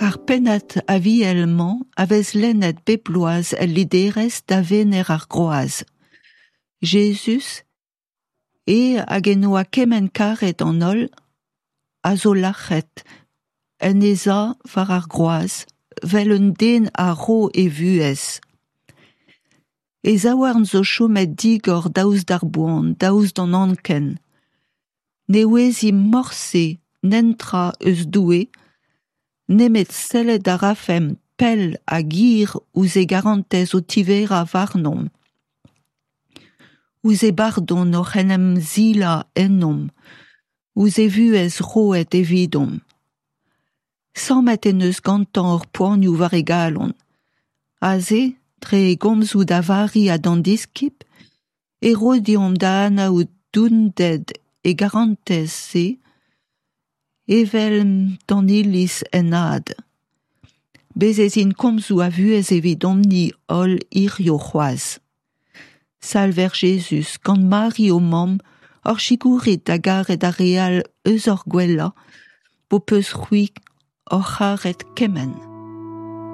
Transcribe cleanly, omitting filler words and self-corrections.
Ar pennad Aviel-mañ a vez lennet bep bloaz el liderezh da Wener ar Groaz. Jezuz, eñ hag en doa kement karet an holl, a zo lac'het en e sav war ar groaz 'vel un den a ro e vuhez. E zaouarn zo chomet digor daoust d'ar boan, daoust d'an anken. Ne ouezimp morse netra eus Doue, nemet sellet a rafemp pell hag hir ouzh e garantez o tiverañ warnomp, ouzh e bardon oc'h en em silañ ennomp, ouzh e vuhez roet evidomp. Sammet en deus gantañ hor poanioù war e galon. Aze, dre e gomzoù da Vari ha d'an diskib, e ro deomp da anaout donded e garantez-se evel d'an Iliz en had. Bez' ez int komzoù a vuhez evidomp-ni holl hiziv c'hoazh. Salver Jezuz, gant Mari ho mamm, hor sikourit da garet ar re all eus hor gwellañ, p'ho peus c'hwi hor c'haret kement.